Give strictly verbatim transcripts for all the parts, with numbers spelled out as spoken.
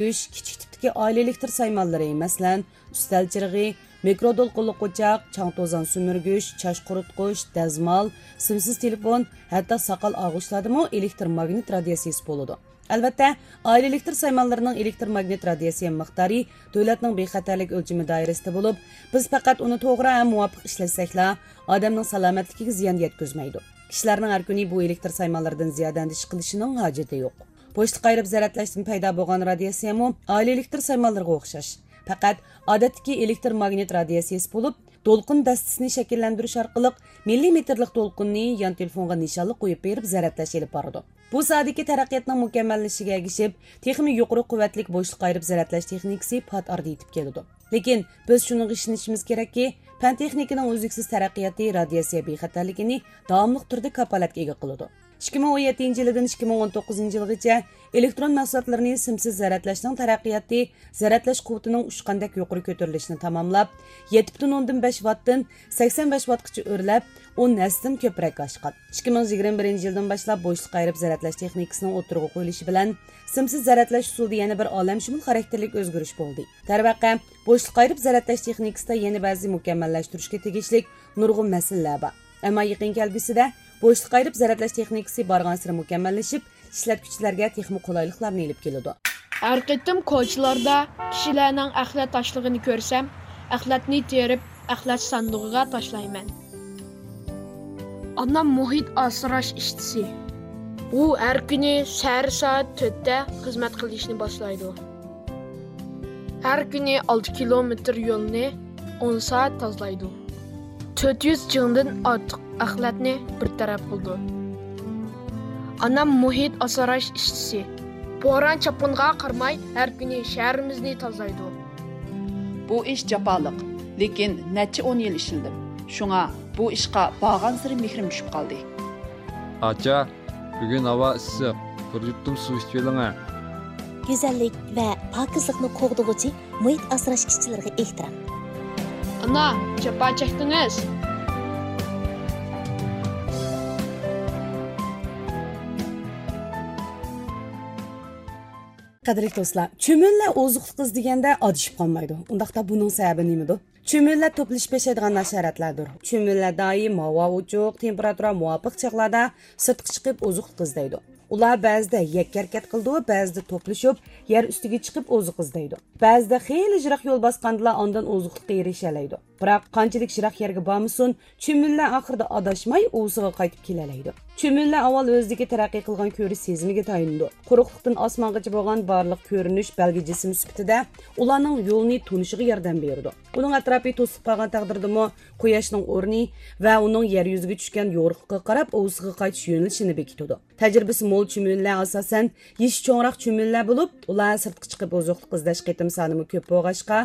كىچىك تىپتىكى ئائىلە ئېلېكتر سايمانلىرى، مەسىلەن، ئۈستەل چىرىغى، مىكرو دولقۇنلۇق ئوچاق، چاڭ توزان سۈمۈرگۈچ، چاچ قۇرۇتقۇچ، دەزمال، سىمسىز تېلېفون، ھەتتا ساقال ئالغۇچلاردىمۇ ئېلېكتر ماگنىت رادىياتسىيىسى بولىدۇ. ئەلۋەتتە، ئائىلە ئېلېكتر سايمانلىرىنىڭ ئېلېكتر ماگنىت رادىياتسىيە مىقدارى دۆلەتنىڭ بىخەتەرلىك ئۆلچىمى دائىرىسىدە بولۇپ، بىز پەقەت ئۇنى توغرا ھەم مۇۋاپىق ئىشلەتسەكلا، ئادەمنىڭ سالامەتلىكىگە زىيان يەتكۈزمەيدۇ. كىشىلەرنىڭ ھەر كۈنى بۇ ئېلېكتر سايمانلىرىدىن زىيادە ئەندىشە قىلىشىنىڭ ھاجىتى يوق. بوشلۇق ئايرىپ زەرەتلەشتىن پەيدا بولغان رادىياتسىيەمۇ ئائىلە ئېلېكتر سايمانلىرىغا ئوخشاش. پەقەت ئادەتتىكى ئېلېكتر ماگنىت رادىياتسىيەسى بولۇپ، دولقۇن دەستىسىنى شەكىللەندۈرۈش ئارقىلىق مىللىمېتىرلىق دولقۇننى يان تېلېفونغا نىشانلىق قويۇپ بېرىپ زەرەتلەش ئېلىپ بارىدۇ. بۇ ساھەدىكى تەرەققىياتنىڭ مۇكەممەللىشىشىگە ئەگىشىپ، تېخىمۇ يۇقىرى قۇۋۋەتلىك بوشلۇق ئايرىپ زەرەتلەش تېخنىكىسى پات ئارىدا يېتىپ كېلىدۇ. لېكىن بىز شۇنىڭغا ئىشىنىشىمىز كېرەككى، پەن تېخنىكىنىڭ ئۈزلۈكسىز تەرەققىياتى رادىياتسىيە بىخەتەرلىكىنى داۋاملىق تۈردە كاپالەتكە ئىگە قىلىدۇ. ئىككى مىڭ ئون يەتتىنچى يىلىدىن ئىككى مىڭ ئون توققۇزىنچى يىلغىچە ئېلېكترون مەھسۇلاتلىرىنى سىمسىز زەرەتلەشنىڭ تەرەققىياتى زەرەتلەش قۇۋۋىتىنىڭ ئۇچقاندەك يۇقىرى كۆتۈرۈلۈشىنى تاماملاپ، يەتتە پۈتۈن ئوندىن بەش ۋاتتىن سەكسەن بەش ۋاتقىچە ئۆرلەپ، ئون ھەسسىدىن كۆپرەك ئاشقان. ئىككى مىڭ يىگىرمە بىرىنچى يىلدىن باشلاپ بوشلۇق ئايرىپ زەرەتلەش تېخنىكىسىنىڭ ئوتتۇرىغا قويۇلۇشى بىلەن، سىمسىز زەرەتلەش ئۇسۇلىدا يەنە بىر ئالەمشۇمۇل خاراكتېرلىك ئۆزگىرىش بولدى. دەرۋەقە، بوشلۇق ئايرىپ زەرەتلەش تېخنىكىسىدا يەنە بەزى مۇكەممەللەشتۈرۈشكە تېگىشلىك نۇرغۇن مەسىلىلەر بار. ئەمما يېقىن كەلگۈسىدە بوشلۇق ئايرىپ زەرەتلەش تېخنىكىسى بارغانسېرى مۇكەممەللىشىپ، ئىشلەتكۈچىلەرگە تېخىمۇ قولايلىقلارنى ئېلىپ كېلىدۇ. ھەر قېتىم كوچىلاردا كىشىلەرنىڭ ئەخلەت تاشلىغىنى كۆرسەم، ئەخلەتنى تېرىپ، ئەخلەت ساندۇقىغا تاشلايمەن. ئانام مۇھىت ئاسراش ئىشچىسى. ئۇ ھەر كۈنى سەھەر سائەت تۆتتە خىزمەت قىلىشنى باشلايدۇ. ھەر كۈنى ئالتە كىلومېتىر يولنى ئون سائەت تازىلايدۇ. تۆت يۈز جىڭدىن ئارتۇق ئەخلەتنى بىر تەرەپ قىلىدۇ. ئانام مۇھىت ئاسراش ئىشچىسى. بوران-چاپقۇنغا قارىماي، ھەر كۈنى شەھىرىمىزنى تازىلايدۇ. بۇ ئىش جاپالىق، لېكىن نەچچە ئون يىل ئىشلىدىم. شۇڭا بۇ ئىشقا بارغانسېرى مېھرىم چۈشۈپ قالدى. ئاچا، بۈگۈن ھاۋا ئىسسىق، بىر يۇتۇم سۇ ئىچىۋېلىڭە. گۈزەللىك ۋە پاكىزلىقنى قوغدىغۇچى مۇھىت ئاسراش ئىشچىلىرىغا ئېھتىرام. ئانا، جاپا چەكتىڭىز. قەدىرلىك دوستلار، چۈمۈلىلەر ئوزۇقلۇق ئىزدىگەندە ئادىشىپ قالمايدۇ. ئۇنداقتا بۇنىڭ سەۋەبى نېمىدۇ؟ چۈمۈلىلەر توپلىشىپ ياشايدىغان ھاشاراتلاردۇر. چۈمۈلىلەر دائىم ھاۋا ئوچۇق، تېمپېراتۇرا مۇۋاپىق چاغلاردا سىرتقا چىقىپ ئوزۇقلۇق ئىزدەيدۇ. ئۇلار بەزىدە يەككە ھەرىكەت قىلىدۇ، بەزىدە توپلىشىپ يەر ئۈستىگە چىقىپ ئوزۇق ئىزدەيدۇ. بەزىدە خېلى يىراق يول باسقاندىلا ئاندىن ئوزۇقلۇققا ئېرىشەلەيدۇ. بىراق قانچىلىك يىراق يەرگە بارمىسۇن، چۈمۈلىلەر ئاخىرىدا ئاداشماي ئۇۋىسىغا قايتىپ كېلەلەيدۇ. چۈمۈلىلەر ئاۋۋال ئۆزىدىكى تەرەققىي قىلغان كۆرۈش سېزىمىگە تايىنىدۇ. قۇرۇقلۇقتىن ئاسمانغىچە بولغان بارلىق كۆرۈنۈش بەلگە جىسىم سۈپىتىدە ئۇلارنىڭ يولىنى تونۇشىغا ياردەم بېرىدۇ. ئۇنىڭ ئەتراپى توسۇلۇپ قالغان تەقدىردىمۇ، قۇياشنىڭ ئورنى ۋە ئۇنىڭ يەر يۈزىگە چۈشكەن يورۇقلۇقىغا قاراپ ئۇۋىسىغا قايتىش يۆنىلىشىنى بېكىتىدۇ. تەجرىبىسى مول چۈمۈلىلەر ئاساسەن يېشى چوڭراق چۈمۈلىلەر بولۇپ، ئۇلار سىرتقا چىقىپ ئوزۇقلۇق ئىزدەش قېتىم سانىمۇ كۆپ بولغاچقا،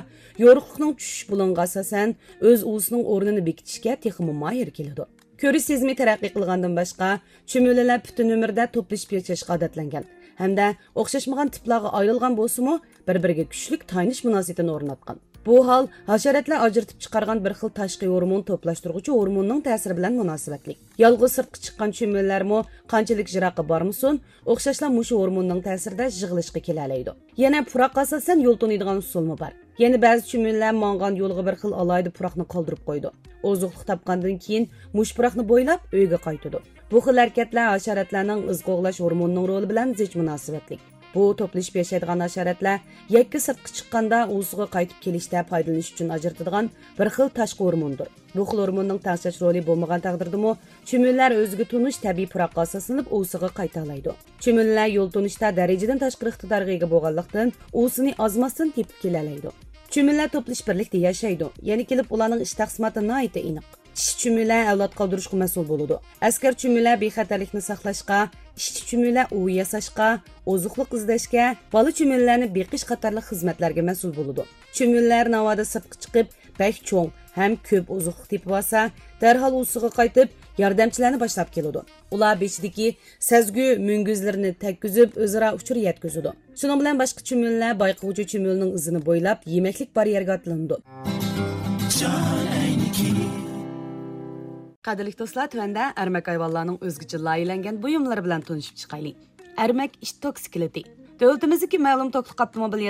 يورۇقلۇقنىڭ چۈشۈش بۇلۇڭىغا ئاساسەن ئۆز ئۇۋىسىنىڭ ئورنىنى بېكىتىشكە تېخىمۇ ماھىر كېلىدۇ. كۆرۈش سېزىمى تەرەققىي قىلغاندىن باشقا، چۈمۈلىلەر پۈتۈن ئۆمرىدە توپلىشىپ ياشاشقا ئادەتلەنگەن ھەمدە ئوخشاشمىغان تىپلارغا ئايرىلغان بولسىمۇ، بىر-بىرىگە كۈچلۈك تايىنىش مۇناسىۋىتىنى ئورناتقان. بۇ ھال ھاشاراتلار ئاجرىتىپ چىقارغان بىر خىل تاشقى ھورمون توپلاشتۇرغۇچى ھورموننىڭ تەسىرى بىلەن مۇناسىۋەتلىك. يالغۇز سىرتقا چىققان چۈمۈلىلەرمۇ قانچىلىك يىراققا بارمىسۇن، ئوخشاشلا مۇشۇ ھورموننىڭ تەسىرىدە يىغىلىشقا كېلەلەيدۇ. يەنە پۇراققا ئاساسەن يول تونۇيدىغان ئۇسۇلمۇ بار. يەنە بەزى چۈمۈلىلەر ماڭغان يولىغا بىر خىل ئالاھىدە پۇراقنى قالدۇرۇپ قويىدۇ. ئوزۇقلۇق تاپقاندىن كېيىن مۇشۇ پۇراقنى بويلاپ ئۆيىگە قايتىدۇ. بۇ خىل ھەرىكەتلەر ھاشاراتلارنىڭ ئىز قوغلاش ھورمونىنىڭ رولى بىلەن زىچ مۇناسىۋەتلىك. بۇ توپلىشىپ ياشايدىغان ھاشاراتلار يەككە سىرتقا چىققاندا ئۇۋىسىغا قايتىپ كېلىشتە پايدىلىنىش ئۈچۈن ئاجرىتىدىغان بىر خىل تاشقى ھورموندۇر. بۇ خىل ھورموننىڭ تەڭشەش رولى بولمىغان تەقدىردىمۇ، چۈمۈلىلەر ئۆزىگە تونۇش تەبىئىي پۇراققا ئاساسلىنىپ ئۇۋىسىغا قايتالايدۇ. چۈمۈلىلەر يول تونۇشتا دەرىجىدىن تاشقىرى ئىقتىدارغا ئىگە بولغانلىقتىن، ئۇۋىسىنى ئازماستىن تېپىپ كېلەلەيدۇ. چۈمۈلىلەر توپلىشىپ بىرلىكتە ياشايدۇ. يەنە كېلىپ ئۇلارنىڭ ئىش تەقسىماتى ناھايىتى ئېنىق. ئىشچى چۈمۈلە ئەۋلاد قالدۇرۇشقا مەسئۇل بولىدۇ. ئەسكەر چۈمۈلە بىخەتەرلىكنى ساقلاشقا، ئىشچى چۈمۈلە ئۇۋا ياساشقا، ئوزۇقلۇق ئىزدەشكە، بالا چۈمۈلىلەرنى بېقىش قاتارلىق خىزمەتلەرگە مەسئۇل بولىدۇ. چۈمۈلىلەر ناۋادا سىرتقا چىقىپ، بەك چوڭ ھەم كۆپ ئوزۇقلۇق تېپىۋالسا، دەرھال ئۇۋىسىغا قايتىپ، ياردەمچىلەرنى باشلاپ كېلىدۇ. ئۇلار بېشىدىكى سەزگۈ مۈڭگۈزلىرىنى تەگكۈزۈپ، ئۆزئارا ئۇچۇر يەتكۈزىدۇ. شۇنىڭ بىلەن باشقا چۈمۈلىلەر بايقىغۇچى چۈمۈلىنىڭ ئىزىنى بويلاپ، يېمەكلىك بار يەرگە ئاتلىنىدۇ. قەدىرلىك دوستلار، تۆۋەندە ئەرمەك ھايۋانلارنىڭ ئۆزگىچە لايىھەلەنگەن بۇيۇملىرى بىلەن تونۇشۇپ چىقايلى. ئەرمەك ئىت توكسىكلىتى. دۆلىتىمىزدىكى مەلۇم توكلۇق ئاپتوموبىل